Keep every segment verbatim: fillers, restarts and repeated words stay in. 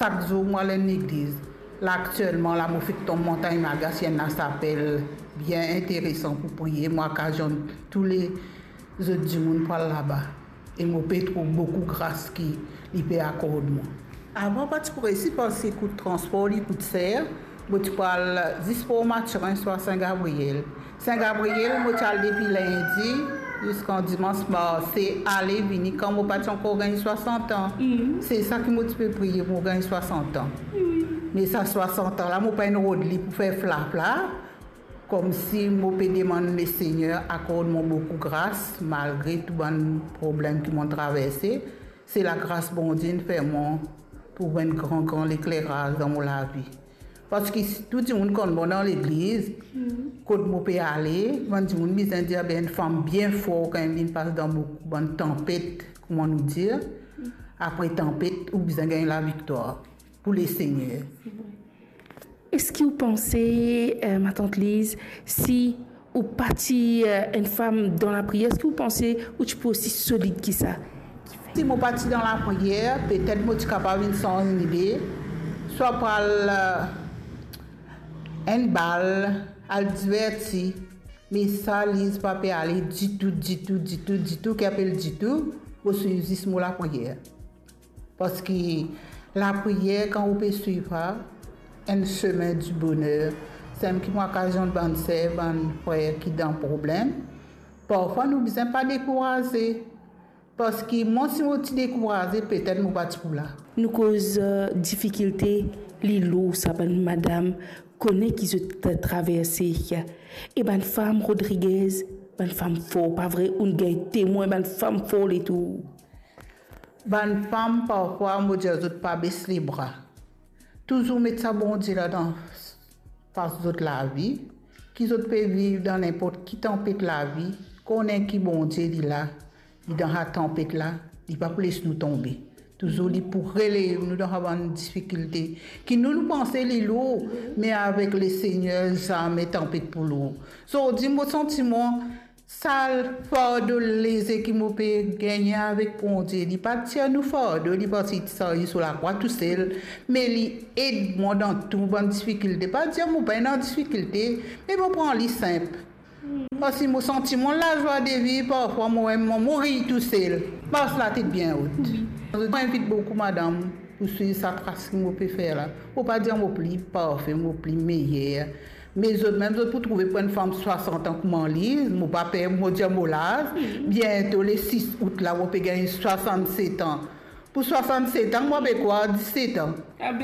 Sak zour mo al enn legliz. La aktielman la mo fek tom Montagne Magas, enn lasapel bien interesan pou priye. Mo akazionn tou lezot dimoun pou al laba. E mo pe trouv boukou gras ki li pe akord mwa. Avan pa ti pou resi parski kout transpor li kout ser. Mo ti pou al zis Port Mathurin swa Sin Gabriel. Sin Gabriel, mo ti al depi lindi ziska dimans, marse, ale, vini, kan mo pa ti ankor gagn swasant an. Se sa ki mo ti pe priye pou mo gagn swasant an. Me sa swasant an la, mo pa inn rod li pou fer flafla, koumsi mo pe demann Lesegner akord mwa boukou gras, malgre tou bann problem ki mo traverse. Se lagras Bondie inn fer mwa trouv enn gran, gran lekleraz dan mo lavi. Parski si tou dimoun konn mwa dan legliz, kot mo pe ale, bann dimoun bizin dir, "Be, enn fam bien for kan li pas dan boukou bann tanpet," kouma nou dir. Apre tanpet, ou bizin gagn laviktwar pou Lesegner. Eski ou panse, eh, matant Liz, si ou pa ti, eh, enn fam dan lapriyer, eski ou panse ou ti pou osi solid ki sa? Si mo pa ti dan lapriyer, petet mo ti kapav inn sanz lide, swa pou al, eh, enn bal, al diverti. Me sa, Liz pa pe ale ditou, ditou, ditou, ditou, ki apel ditou, mo swiv zis mo lapriyer. Parski lapriyer, kan ou pe swiv sa, enn semin di boner. Samem ki mo akazionn bann ser, bann frer ki dan problem, parfwa nou bizin pa dekouraze. Parski mwa, si mo ti dekouraze, petet mo pa ti pou la. Nou koz, eh, difikilte, li lour sa bann madam kone ki zot traverse. E bann fam Rodriguez, bann fam for, pa vre? Ou'nn gagn temwin bann fam for letour. Bann fam, parfwa, mo dir zot pa bes lebra. Touzour met sa Bondie la dan pas zot lavi, ki zot pe viv dan ninport ki tanpet lavi, konnen ki Bondie li la, li dan sa tanpet la, li pa pou les nou tonbe. Touzour li pou relev nou dan sa bann difikilte ki nou, nou panse li lour, me avek Lesegner, zame tanpet pou lour. Zordi, mo santi mwa, sa fardo leze ki mo pe gagne avek Bondie, li pa tir nou fardo, li parti sarye so lakrwa tousel, me li ed mwa dan tou bann difikilte. Pa dir mo pa dan difikilte, me mo pran li sinp. Parski mo santi mwa lazwa de viv, parfwa mo, mo, mo riy tousel. Pas latet bien rod. Mo invit boukou madam pou swiv sa tras ki mo pe fer la. Mo pa dir mo pli parfe, mo pli meyer. Me zot mem, zot pou trouve pou enn fam swasant an kouma li, mo pa per mo dir mo laz. Biento le sis out la, mo pe gagn swasannset an. Pou swasannset an, mo pe krwar diset an.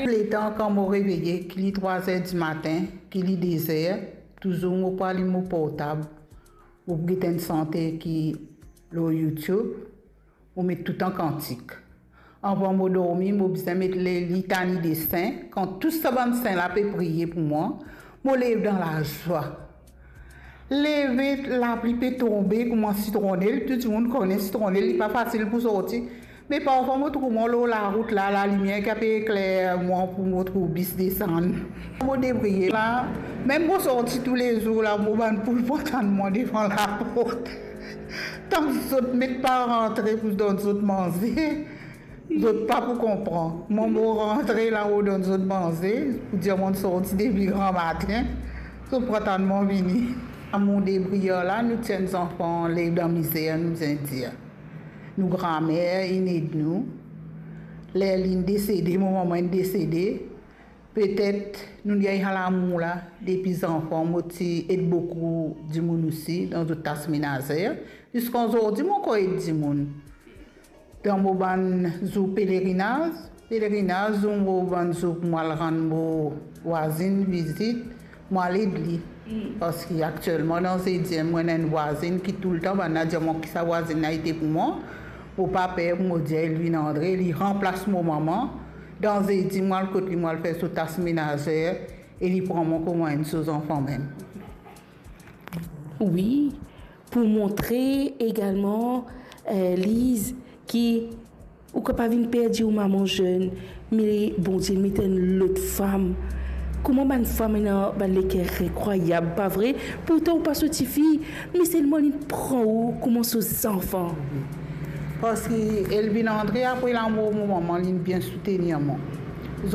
Letan kan mo reveye, ki li trwa zer dimatin, ki li de zer, touzour mo pou alim mo portab, mo pou get enn sante ki lor YouTube, mo met toutan kantik. Avan mo dormi, mo bizin met le litani de sin. Kan tou sa bann sin la pe priye pou mwa, mo lev dan lazwa. Leve, lapli pe tonbe kouma sitronel, tou dimoun kone sitronel, li pa fasil pou sorti. Me parfwa mo trouv mwa lor larout la, lalimier ki pe ekler mwa pou mo trouv bis desann. Mo debriye la, mem mo sorti toulezour la, mo bann poul pou atann mwa devan laport. Tank zot met pa rantre pou donn zot manze, zot pa pou konpran. Mwa mo rantre la, mo donn zot manze, pou dir mo sorti depi gramatin, zot pou atann mwa vini. Amour debriyer la, nou ti enn zanfan lev dan mizer, nou bizin dir. Nou gramer inn ed nou. Ler linn desede, mo manman inn desede, petet nou gagn sa lamour la depi zanfan. Mo ti ed boukou dimoun osi dan zot tas menazer. Ziska zordi mo ankor ed dimoun. Dan mo bann zour pelerinaz, pelerinaz, zour mo bann zour pou mo al rann mo vwazinn vizit, mo al ed li. Parski aktielman dan Zediem, mo ena enn vwazinn ki toultan, bannla dir mwa ki sa vwazinn la ete pou mwa. Mo pa per pou mo dir Elvin Andre, li ranplas mo manman. Dan Zedi, mo al kot li, mo al fer so tas menazer, e li pran mwa kouma enn so zanfan mem. Wi, pou montre egalman, eh, Liz, ki ou kapav vinn perdi ou mama zenn, me Bondie met enn lot fam. Kouma bann fam ena bann leker inkrwayab, pa vre? Pourtan ou pa so tifi, me selman li pran ou kouma so zanfan. Parski Elvin Andre, apre lamor mo manman, li bien soutenir mwa.